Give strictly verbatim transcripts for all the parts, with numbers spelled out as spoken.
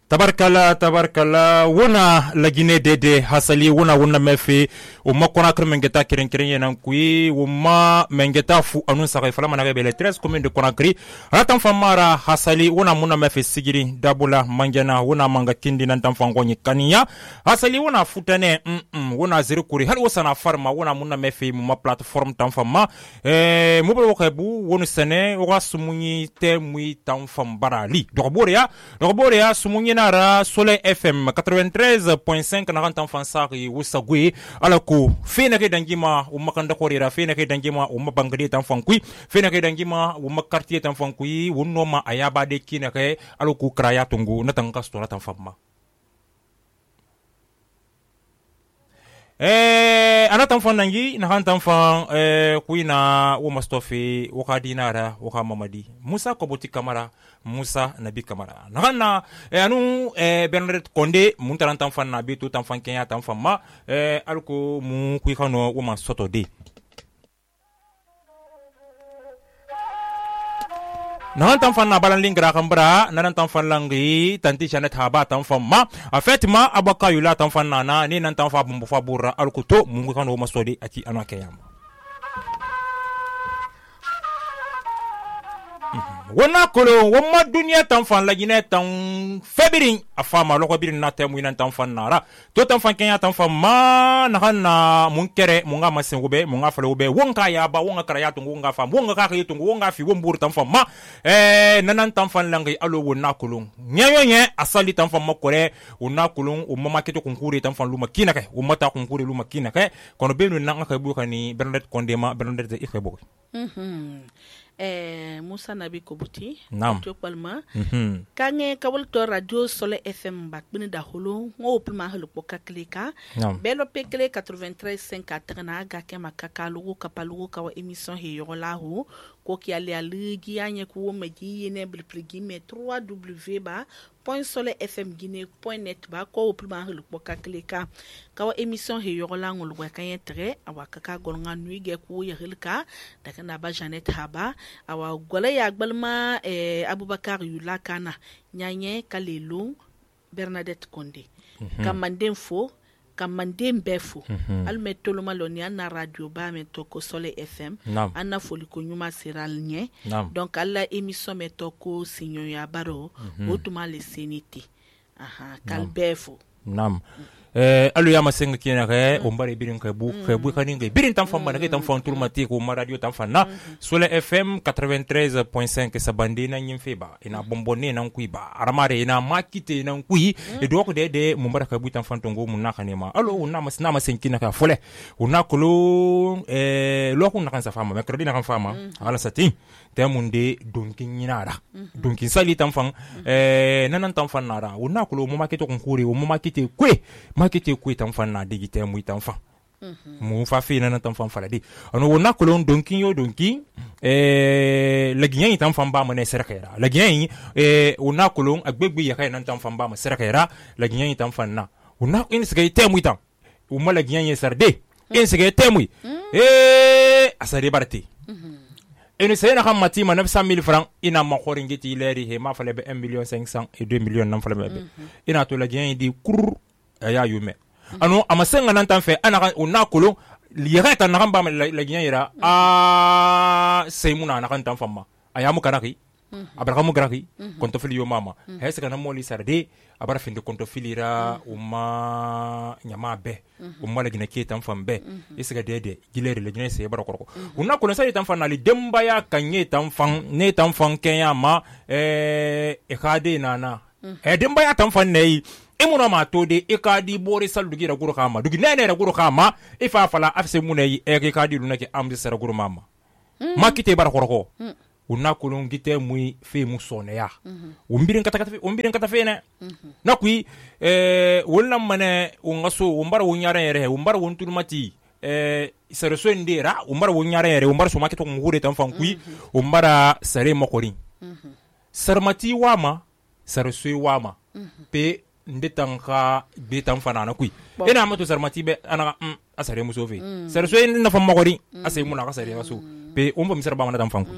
tabarkala tabarkala wona lagine dede hasali wona wona mefe o makona kr mengeta kiren kiren yenan kui o ma mengeta fu anun sakai fala managa bele treize commune de Conakry ratan famara hasali wona muna mefe sigiri dabula manjana wona manga kindi nan tan fangonyi kaniya hasali wona futane mm, -mm wona zero kuri hal wasana farma wona muna mefe mu ma platform tan fama eh mu bo xebu wonu sene wa sumunyi te muy tan fam barali dokbore ya dokbore ya sumunyi nara Soleil F M quatre-vingt-treize point cinq na rantan fansari wusagwe alako fena ke dangima o makanda korira fena ke dangima o mabangade tan fankui fena ke dangima o makartier tan fankui wonno ma ayaba de kinake alako kraya tungu na tan kastora tan famma eh anatan fan nangi na hantan fan eh kuina wo mastofi wo kadinara wo mamadi Musa Koboti Kamara Musa Nabi Kamara na eh anu eh Bernard Konde mun tarantan fan na beto tan fan kenya tan fan ma eh alko mu kuikano wo masoto de nan tan fan na balan lingra kambra nan tan fan langi tanti chanet haba tan fan ma en fait ma abaka yula tan fan nana ni nan tan fa bumbu fa burra alkuto mungu kan o masodi ati anake yamba wona kolo woma dunia tan fan la gine tan febirin afama loko birin na temu nan tan fan nara to tan fan kenya tan fan ma na hanna mun kere mun ga masen gobe mun ga falo gobe wonka ya ba wonga kara ya tungu wonga fam wonga ka ka tungu wonga fi won bur tan fan ma eh nanan tan fan langi alo wona kolo nyayo nye asali tan fan makore wona kolo o mama keto konkuri tan fan luma kinake o mata konkuri luma kinake kono benu nan ka bu kani Bernard Kondema Bernard de Ikebo mhm eh Musa Nabi Koboti to palma mhm kange kawul to radio Soleil F M bak bin da holo ngo pulma holo poka klika belo pekle quatre-vingt-treize point cinq atrana ga ke makaka lugo kapalugo kawa emission he yolahu ko ki ale aligi anye ko meji yene bilpligi me trois w ba point soleil f m guinée point net ba ko pulma holo poka klika kawa emission he yola ngol wa kan tre awa kaka golnga nui ge ko yelka daga na ba Janet Haba awa gola ya gbalma eh, Abubakar Yula Kana nyanye kalelo Bernadette Konde mm -hmm. kamanden fo kamanden befo mm -hmm. al metolo maloni na radio ba metoko Soleil F M no. Anna foli ko nyuma siral nye no. Donc alla émission metoko sinyo ya baro mm -hmm. Otuma le seniti aha kal no. Befo nam mm. eh alu ya masenga kina ke o mbare birin ka bu ka bu kaninga birin tan famba na ke tan fon turmati ko ma radio tan fanna Soleil F M quatre-vingt-treize point cinq sabande na nyimfe ba ina bombone nan kui ba aramare ina makite nan kui e do ko de de mo mbara ka bu tan fan tongo mun nakane ma alo una mas na masen kina ka fole una kolo eh lo ko na kan sa fama mercredi na kan fama ala sati temunde donkin nyinara donkin sali tan fan eh nanan tan fan nara una kolo mo makite ko kuri mo makite kwe makite kwe tan fan na digite mu tan fan mu fa fi nanan tan fan faladi ano wona kolo donkin yo donkin eh lagiyan tan fan ba mo ne serkera lagiyan eh una kolo agbegbe ya kai nan tan fan ba mo serkera lagiyan tan fan na una in sgay temu tan o mo lagiyan ye sarde in sgay temu eh asare barti ene sayna xam mati ma neuf cent mille francs ina ma khoringiti leri he ma fale be un million cinq cents et deux millions nam fale be ina to la gien di kur ya yume anu amasenga nan tan fe ana una kolo liyata na kamba la gien ira a seymuna na kan tan fama ayamu karaki abara mu karaki konto fili yo mama hesa kana moli sarde abara finde konto filira uma nyama be umma la gina ke tan fambe isiga dede gileri le gina se bara korko unna ko sai tan fanali demba ya kanye tan fan ne tan fan kenya ma eh e kade nana e demba ya tan fan nei imuna ma to de e kadi bore sal dugi ra guru kama dugi nene ra guru kama e fa fala afse munai e ke kadi lunake amdi sara guru mama makite bara korko una kolon gite muy fe mu soneya umbirin kata kata umbirin kata fe ne nakui eh wonna mane ungaso umbara wunyara yere umbara wonturmati eh sareso ndera umbara wunyara yere umbara so maketo ngure tan fankui umbara sare makorin sarmati wama sareso wama pe ndetanka betan fanana kui ina mato sarmati be ana asare musofe sareso na fam makorin asay muna ka sare waso pe umba misar ba mana tan fankui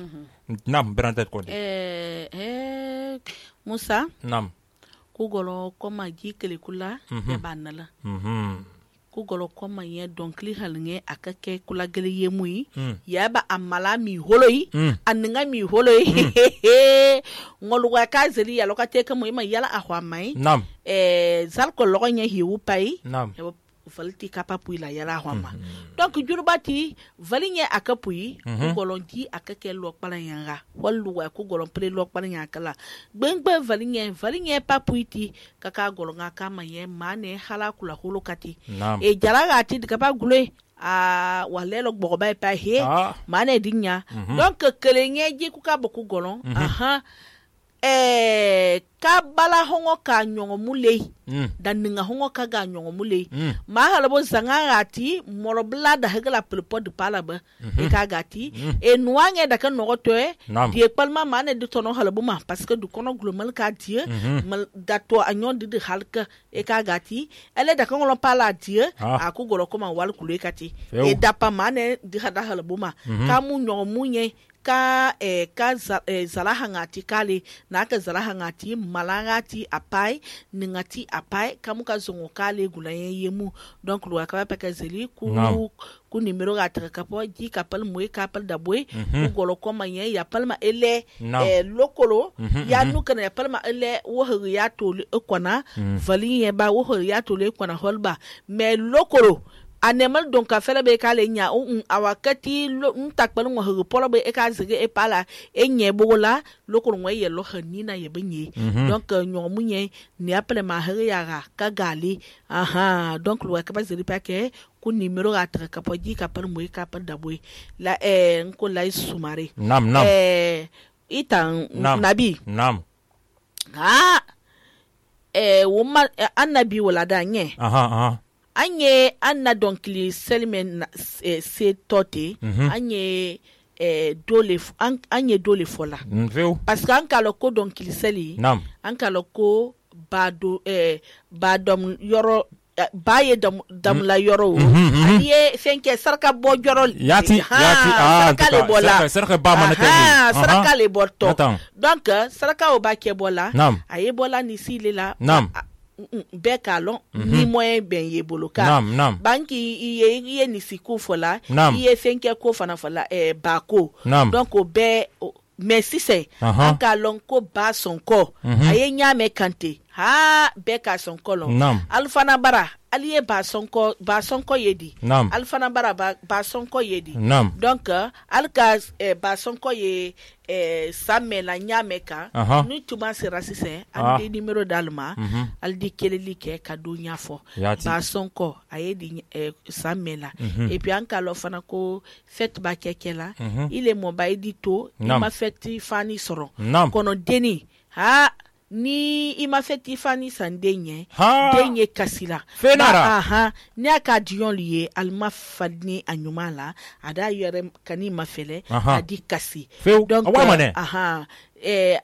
nam Bernadette Konde eh eh Musa nam ku golo koma ji kele kula ya banala mhm ku golo koma ye donkli halnge akake kula gele yemui ya ba amala mi holoi annga mi holoi ngoluwa ka zeli ya lokate ka mu ima yala ahwa mai nam eh zal ko logonya hiwu pai nam valiti kapapui la yala hwama donc jurubati valinye akapui ku golonti akake lo kpalanyanga walluwa ku golon pre lo kpalanya kala gbengbe valinye valinye papuiti kaka golonga kama ye mane hala kula holokati e jaraga ti kapa gule a walelo gboba pa he mane dinya donc kelenye ji ku ka boku golon aha eh ka bala hongo ka nyongo mulei dan ninga hongo ka ga nyongo mulei ma halabo zanga gati morobla da hegala pelpo de palaba e ka gati e nuange da kan nogoto e die palma mane de tono halabo ma parce que du kono global ka die mal dato anyon de halka e ka gati ele da kan lo pala die a ku golo koma wal kulu kati e da pa mane de hada halabo ma ka mu nyongo munye ka eh, ka za, eh, zalahangati kale na ka zalahangati malangati apai ningati apai kamu ka zongo kale gulayen yemu donc lo akaba pa ka zeli ku no. ku numero ga ta kapo ji kapal moy kapal da boy ku golo ko manye ya palma ele no. eh, lokolo mm-hmm, ya mm-hmm. nuka ya palma ele wo ya tole ekwana mm. vali ye ba wo ya tole ekwana holba mais lokolo anemal donc a fele be kale nya un awakati ntakpal ngo ho polo be e ka zige e pala e nye bola lokolo ngwe ye lo hanina ye benye donc nyo munye ni appele ma hare ya ka gali aha donc lo ka ba zeli pa ke ku numero ga tra ka poji ka par mo ka par da boy la e nko la sumare nam nam eh itan nam. nabi nam ha eh woma annabi wala da nye aha aha anye anna donkli selmen eh, se tote mm-hmm. anye eh, dole an, anye dole fola mm, parce que an kalo ko donkli seli nam an kalo ko bado eh, badom yoro baye dam dam la yoro aliye fenke sarka bo joro yati yati ah sarka le bola sarka ba manate ah sarka le borto Attends. donc sarka o ba ke bola nam aye bola ni sile la nam be kalon ni moyen ben ye boloka nam nam banki iye iye ni siku fola iye fenke ko fana fola eh bako donc o be merci c'est en kalon ko ba sonko aye nyame kante ha be ka sonko lon alfana bara aliye ba sonko ba sonko yedi alfana bara ba, ba sonko yedi nam. donc alka eh, ba sonko ye eh, samela nyameka uh-huh. nu tuma sera sise ah. andi numero dalma mm-hmm. aldi keleli ke kadu nyafo Yati. ba sonko ayedi eh, samela mm-hmm. et puis anka lo fana ko fête ba kekela mm-hmm. ile mo ba edito ima fête fani soro nam. kono deni ha ni ima feti fani sandenye denye kasila fenara aha ni aka dion liye alma fadni anyumala ada yere kani mafele adi kasi Feu. donc uh, aha eh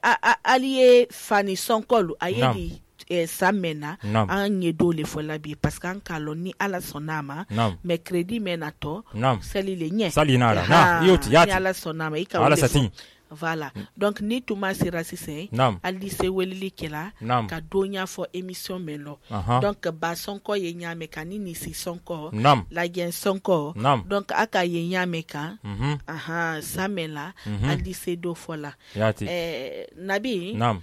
aliye fani sonkolu ayedi eh, samena anye dole fola bi parce que an kaloni ala sonama mais crédit menato sali le nye sali nara na yoti yati ala sonama ika ala satin voilà donc ni tuma sera sise ali se welili kela ka donya fo émission melo uh-huh. donc ba sonko ye nyame kani ni si sonko Nam. la gen sonko Nam. donc aka ye nyame ka mm-hmm. aha samela mm-hmm. ali se do fola yati eh nabi nam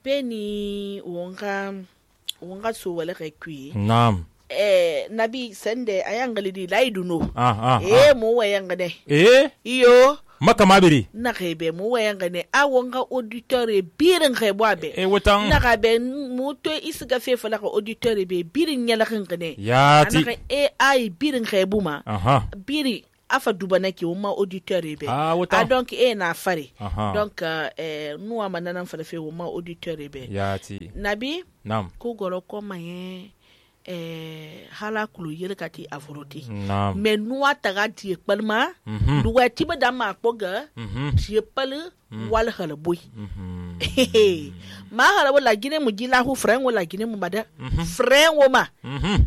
beni wonga wonga so wala rekwi nam eh nabi sende ayangali di laiduno ah ah eh mo wayangane eh iyo maka mabiri na rebe mo wayanga ne awonga auditeur e birin rebwabe e wotan na rabe muto isga fe fala ko auditeur be birin nyala ngene yati ana e ai birin rebuma aha biri afa dubana ki uma auditeur be ah a donc e na fare aha. donc eh nous amana fala fe uma auditeur be yati nabi nam ko goro ko maye eh hala kulu yele kati avoroti nam mais nous ataga ti palma mhm du wati ba dama poga mhm ti pal wal hala boy mhm ma hala wala gine mu jila hu frère wala gine mu bada frère wo ma mhm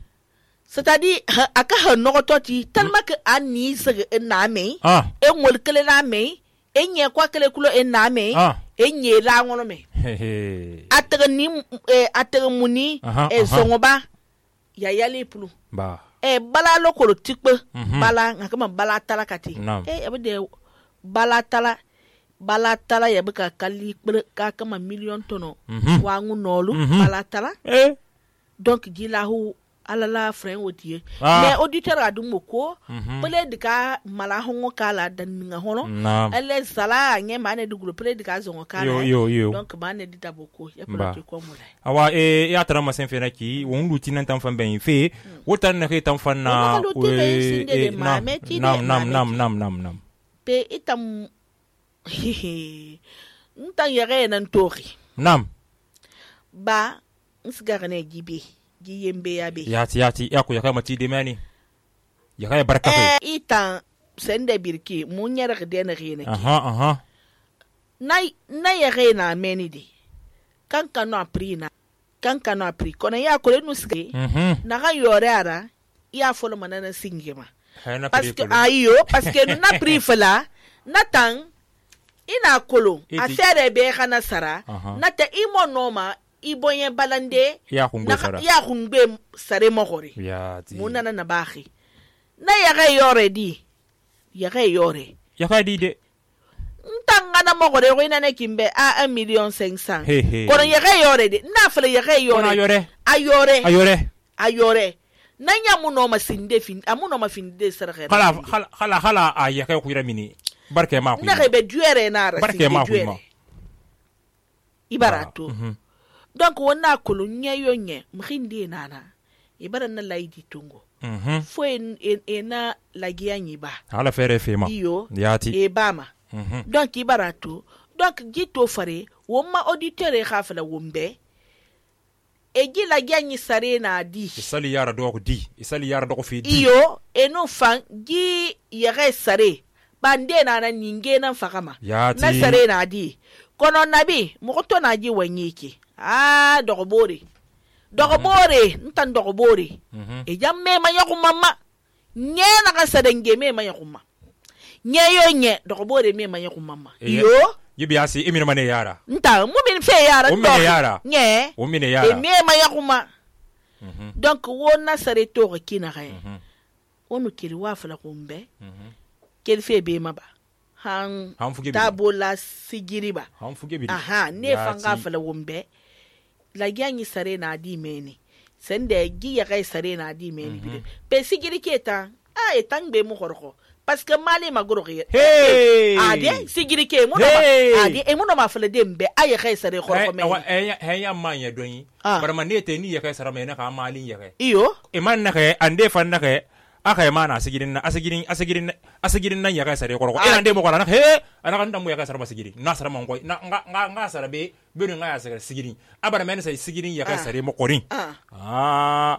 c'est-à-dire aka ha no toti tellement que ani se na me ah e ngol kele na me e nye kwa kele kulo e na me enye la ngono me atega ni atega muni e songoba ya yali pulu ba e bala lokolo tikpe bala ngakama bala tala kati e abde bala tala bala tala ya baka kali ka kama million tono wangu nolu bala tala eh donc gilahu alala frère odie mais auditeur adu moko pele dika mala hongo kala dan nga hono ele sala nye mane du groupe pele dika zongo kala yo yo yo donc mane dita boko ya pele ko mo lai awa e ya tara ma sen fena ki won luti nan tan fan ben fe wotan na ke tan fan na nam nam nam nam nam nam pe itam ntan yare nan tori nam ba nsgarane gibe giyembe yabe yati yati yako yakay mati de mani yakay baraka eh itan sende birki munyara de na rene aha aha nay na yare na meni de kan kanu aprina kan kanu apri kona ya ko lenu ske na ga yore ara ya folo manana singema parce que ayo parce que na pri fala na tan ina kolo affaire be kana sara na ta imo noma ibonye balande ya khungbe sara ya khungbe sare mogore ya ti munana na bahi na yaga yore di yaga yore yaga di de ntanga na mogore ko ina ne kimbe a one million cinq cents kono yaga yore di na fele yaga yore ayore ayore ayore ayore na nyamu no masinde fin amu no mafinde sara khala khala khala a yaga ko ira mini barke ma ko na rebe duere na ra barke ma ko ibarato donc wona kulu nye yo nye mkhindi nana ibara na laidi tungo mhm fo en ena lagia nyiba ala fere fema iyo yati e bama mhm donc ibarato donc gito fare woma auditeur e khafala wombe e gi lagia nyi sare na di isali yara do ko di isali yara do ko fi di iyo eno fan gi yare sare bande nana ninge na fakama yati na sare na di kono nabi moto na ji wanyiki ah dogobore dogobore ntan dogobore e jamme ma yaku mama nye na ka sadenge me ma yaku mama nye yo nye dogobore me ma yaku mama yo yibi asi emina mane yara nta mu min fe yara do yara nye o mine yara e me ma yaku ma donc wona sare to kina ga onu kiri wa fala kumbe kel fe be maba han tabola sigiriba han fuge bi aha ne fanga fala wombe la gyanyi sare na di meni sende gi ya kai sare na di meni bi pe sigiri keta a etang be mu horko parce que mali magoro ge hey ade sigiri ke mu no ade e mu no ma fala dembe ay kai sare horko me he he ya manya doni bar man ne te ni ya kai sare me na ka mali ya kai iyo e man na kai ande fan na kai aka yi mana asigirin na asigirin asigirin asigirin nan ya kai sare koroko ina ndemo kala na he ana kan damu ya kai sare masigiri na sare man koy na nga nga nga sare be benu nga ya sare sigirin abara men sai sigirin ya kai sare mo korin ah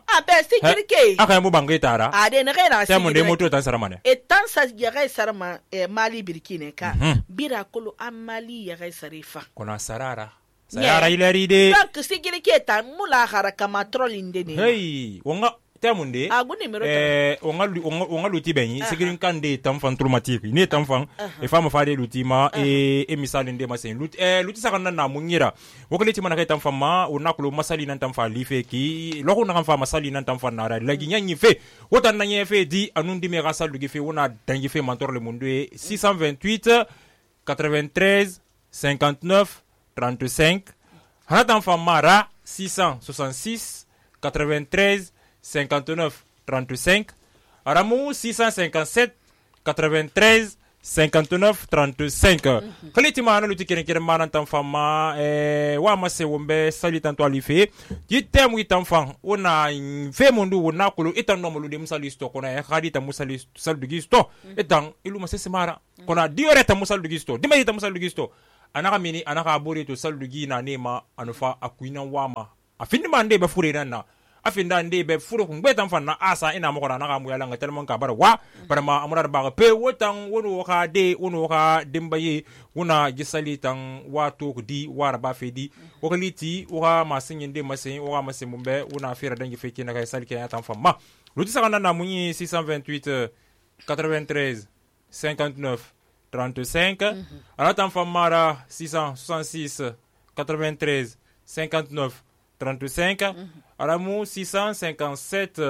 ah be sigiri ke aka yi mu bangai tara ade na kai na sai mun de moto tan sare mane e tan sa ya kai sare ma mali birkine ka bira kolo amali ya kai sare fa kona sarara sarara ilari de donc sigiri ke tan mula haraka matrolin de ne hey wonga temunde eh onga onga luti benyi sigirin kande tamfan traumatique ni tamfan e fama fade luti ma e e misali nde masen luti eh luti sakana na munyira wokoleti mana kai tamfan ma onakulu masali nan tamfa life ki loko na kamfa masali nan tamfan na ra lagi nyanyi fe wotan na nyefe di anundi me rasal dugi fe wona dangi fe mentor le mundu six cent vingt-huit quatre-vingt-treize cinquante-neuf trente-cinq hana tamfan mara six cent soixante-six quatre-vingt-treize cinquante-neuf trente-cinq Aramou six cent cinquante-sept quatre-vingt-treize cinquante-neuf trente-cinq Khaliti mana luti keren keren mana tamfama eh wa mase wombe sali tanto alife yitem witamfan ona fe mundu wona kulu itan no mulu de musalisto kona e khadita musalisto saldugisto etan ilu masese mara kona dioreta musaldugisto dimayita musaldugisto anaka mini anaka abori to saldugi na nema anufa akuina wama afindi mande be furena na afinda nde be furu ngbetan fanna asa ina mo kona na mu yala ngatel mon ka bara wa bara ma amura ba pe wotan wono ka de wono ka dembaye wona gisali tan wato di wara ba fedi wokaliti wa masin nde masin wa masin mumbe wona fira dangi feki na kai salke ya tan famma luti sakana na munyi six cent vingt-huit quatre-vingt-treize cinquante-neuf trente-cinq. Alors t'en fais mara six cent soixante-six quatre-vingt-treize cinquante-neuf trente-cinq. Alors six cent cinquante-sept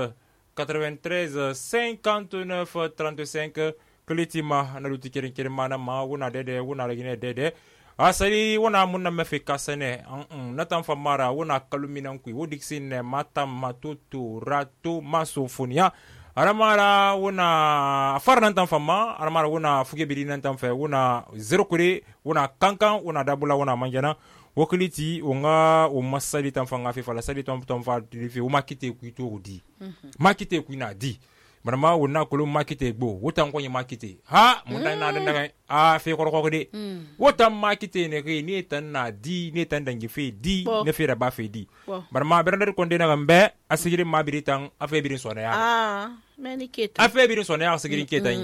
quatre-vingt-treize cinquante-neuf trente-cinq. Kilitima na luti kirin kirin mana ma wuna dede wuna lagine dede. Asali wuna munna mefe kasane na tan famara wuna kaluminan kui wodixine mata matutu rato masofonia aramara wuna farnan tan fama aramara wuna fuge birinan tan fe wuna zero kure wuna kankan wuna dabula wuna manjana wakiliti unga umasali tan fanga fe fala sali tan tan fa fi umakite kui to di makite kui na di marama wona kolo makite gbo wotan ko makite ha mun dan na dan a fe ko ko de wotan makite ne ke ni tan na di ni tan dangi fe di ne fe da ba fe di marama bernder ko de na gambe asigiri mabiri tan afe birin sona ya ah meni keta afe birin sona ya asigiri keta yi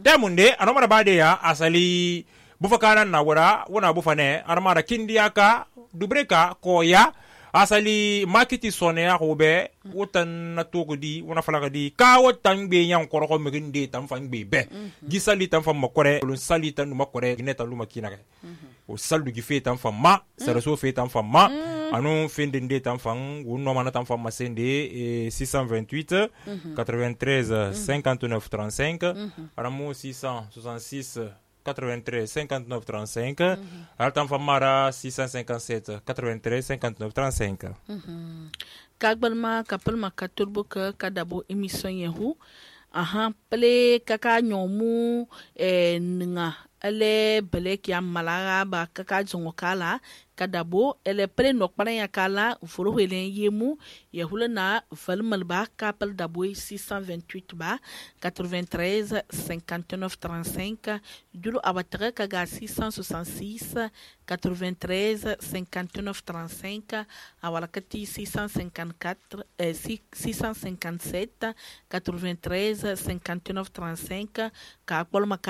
da mun de anomara ba de ya asali bufakana na wora wona bufane armara kindiaka dubreka ko ya asali makiti sone ya robe wotan na togodi wona falaga di ka wotan be yan koroko meginde tan fan be be gisali tan fan makore lon sali tan makore gineta luma kinaka o saldu gi fe tan fan ma sara so fe tan fan ma anu fende de tan fan wono mana tan fan masende six cent vingt-huit quatre-vingt-treize cinquante-neuf trente-cinq aramu six cent soixante-six quatre-vingt-treize cinquante-neuf trente-cinq altan famara six cent cinquante-sept quatre-vingt-treize cinquante-neuf trente-cinq kagbalma kapalma katurbo ka kadabo émission yehu aha ple kaka nyomu e nga ele belek ya malaga ba kaka zongo kala kadabo ele pre nok para ya kala furo helen yemu yehula na valmal ba kapal dabo six cent vingt-huit ba quatre-vingt-treize cinquante-neuf trente-cinq dulo abatra kaga six cent soixante-six quatre-vingt-treize cinquante-neuf trente-cinq awala kati six cent cinquante-quatre eh, six cent cinquante-sept quatre-vingt-treize cinquante-neuf trente-cinq ka kolma